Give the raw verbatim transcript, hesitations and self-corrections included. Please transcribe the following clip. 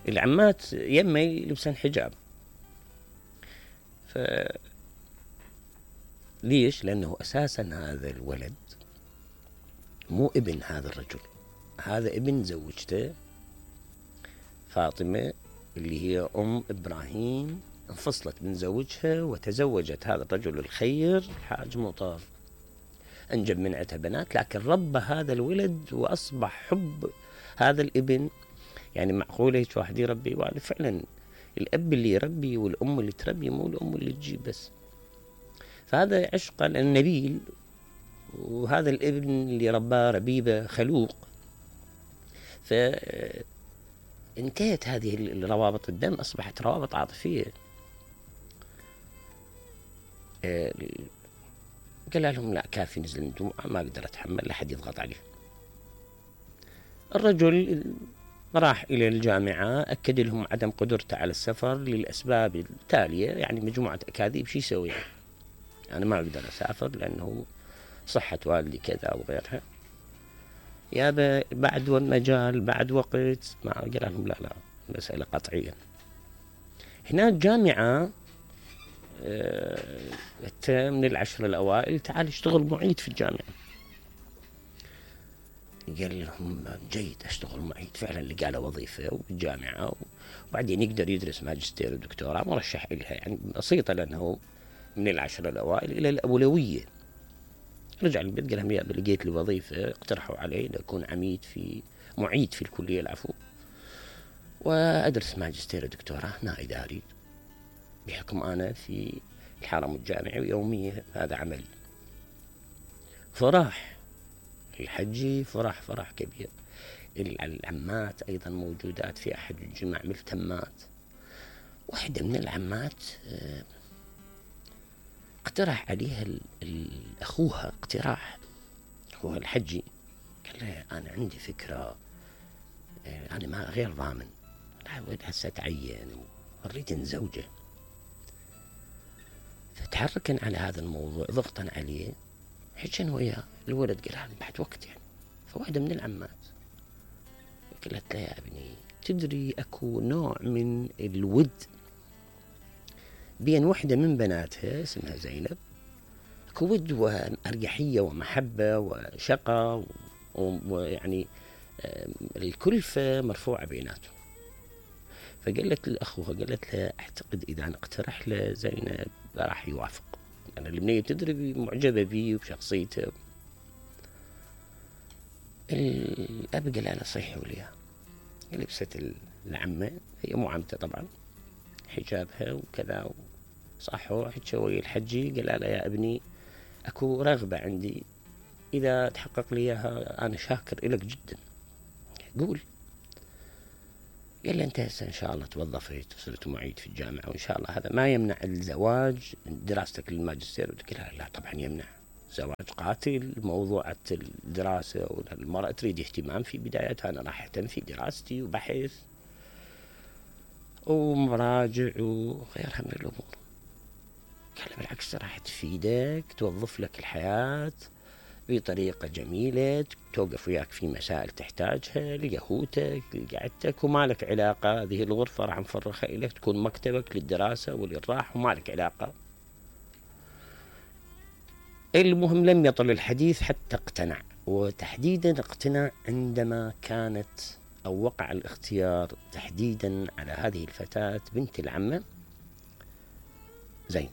العمات يمه يلبسن حجاب. ف ليش؟ لأنه أساسا هذا الولد مو ابن هذا الرجل، هذا ابن زوجته فاطمة اللي هي أم إبراهيم، انفصلت من زوجها وتزوجت هذا الرجل الخير حاج مطر، أنجب من عندها بنات، لكن ربى هذا الولد وأصبح حب هذا الابن. يعني معقولة هيك واحد يربي والد؟ فعلا الأب اللي يربي والأم اللي تربي، مو الأم اللي تجيب بس. فهذا عشق النبيل، وهذا الابن اللي رباه ربيبة خلوق. فانتهت هذه الروابط الدم، أصبحت روابط عاطفية. قال لهم لا كافي، نزل من الدموع، ما أقدر أتحمل لحد يضغط عليه. الرجل راح إلى الجامعة، أكد لهم عدم قدرته على السفر للأسباب التالية، يعني مجموعة أكاذيب. شي يسوي؟ أنا ما أقدر أسافر لأنه صحة والدي كذا وغيرها. يابا بعد والمجال بعد وقت، ما قال لهم لا لا مسألة قطعية. هناك جامعة أه من العشر الأوائل، تعال اشتغل معيد في الجامعة. قال لهم جيد أشتغل معيد. فعلا لقى له وظيفة بالجامعة، وبعدين يقدر يدرس ماجستير ودكتوراه، مرشح إلها يعني بسيطة لأنه من العشر الأوائل إلى الأولوية. رجع البيت قال لهم يا لقيت لي وظيفة، اقترحوا علي لأكون عميد في معيد في الكلية العفو، وأدرس ماجستير ودكتوراه هنا إداري، بحكم أنا في الحرم الجامعي ويومية هذا عملي. فراح الحجي، فرح فرح كبير. العمات أيضا موجودات في أحد الجمع ملتمات. واحدة من العمات اقترح عليها أخوها اقتراح، أخوها الحجي، قال لها أنا عندي فكرة، أنا ما غير ضامن، هسه تعين وأريد نزوجه. فتحركن على هذا الموضوع ضغطا عليه، حجن وياه. الولد قال هذا بعد وقت يعني. فواحدة من العمات قالت له يا ابني تدري أكو نوع من الود بين وحدة من بناتها اسمها زينب، أكو ود وأريحية ومحبة وشقة، ويعني الكلفة مرفوعة بيناتهم. فقالت لأخوها، قالت له أعتقد إذا نقترح له زينب راح يوافق، أنا البنية تدري معجبة بيه وبشخصيته. الأب قال أنا صيحي وليها. لبست العمة، هي مو عمته طبعا، حجابها وكذا، صحوا حتشوي الحجي. قال له يا ابني أكو رغبة عندي، إذا تحقق لي إياها أنا شاكر إلك جدا، قول. قال له أنت هسه إن شاء الله توظفت وصرت معيد في الجامعة، وإن شاء الله هذا ما يمنع الزواج دراستك للماجستير. قال له لا طبعا يمنع، زواج قاتل. موضوع الدراسة والمرأة تريد اهتمام في بدايتها، أنا راح أهتم في دراستي وبحث ومراجع وغيرها من الأمور. قال بالعكس راح تفيدك، توظف لك الحياة بطريقة جميلة، توقف وياك في مسائل تحتاجها لقهوتك لقعدتك، وما لك علاقة. هذه الغرفة راح نفرخها إليك تكون مكتبك للدراسة وللراحة، وما لك علاقة. المهم لم يطل الحديث حتى اقتنع، وتحديدا اقتنع عندما كانت أو وقع الاختيار تحديدا على هذه الفتاة بنت العمة زينب.